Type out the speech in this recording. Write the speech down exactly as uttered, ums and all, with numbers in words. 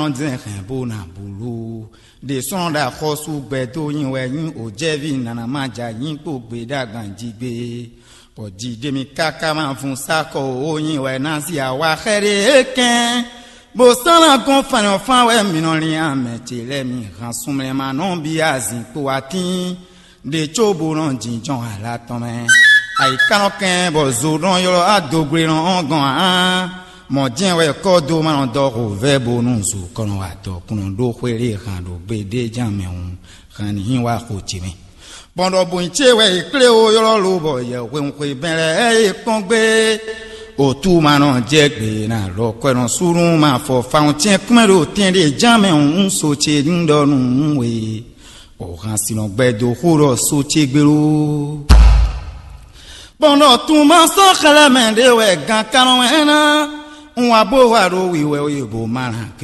nɔ zɛn hɛn bó ná bulu. Ɖe sɔ́ ɖo axɔ́sú gbɛ dó nyi wɛ nyí òjɛ́ví nana ma ja nyí kpó gbe ɖó agban jí gbé. Bɔ jǐ ɖé mì káká ma vun sá kɔ ó nyi wɛ ná sí awa xɛ ɖé é kɛn. Bó sɔ́ ná gɔ́n fanyɔ́fán wɛ mì nɔ lín amɛ ce lɛ́ɛ mi han sunmlɛ ma nɔ bí azǐn kpo atín. Ɖe có bó nɔ jínjɔ́n ala tɔn mɛ. Ayǐká nɔ kɛn bɔ zo nɔ ylɔ́ adogble nɔ ɔ́ gɔn ǎ. Mɔ̌ jɛ́n wɛ kɔ́ dó ma nɔ dɔ xo vɛ́ bónú zo kɔ nɔ wa dɔ̌kúnɔ ɖó xwé ɖé han ɖo gbe ɖé ján mɛ hǔn, han ní nyí wá xo ce mɛ. Bɔn ɖɔ bǔnyi ce wɛ è kplé ó ylɔ́ lo bɔ yɛ hwenu xwe bɛn lɛ́ɛ é kpɔ́n gbé. Òtú ma nɔ jɛ gbe ná lɔ kwɛ nɔ súnú ma fɔ fawun tɛ́n kúmɛ ɖo tɛn ɖé ján mɛ hǔn so ce ní ɖɔ nú we. Òhan sin nɔ gbɛ dó xó ɖɔ só ce gbé ló. Bɔn ɖɔ tún ma sɔ́ xlɛ́ mɛ ɖé wɛ gan kanɔ ɛ́ ná. Un wá bó wá ɖo wiwɛ we bó ma ná ké.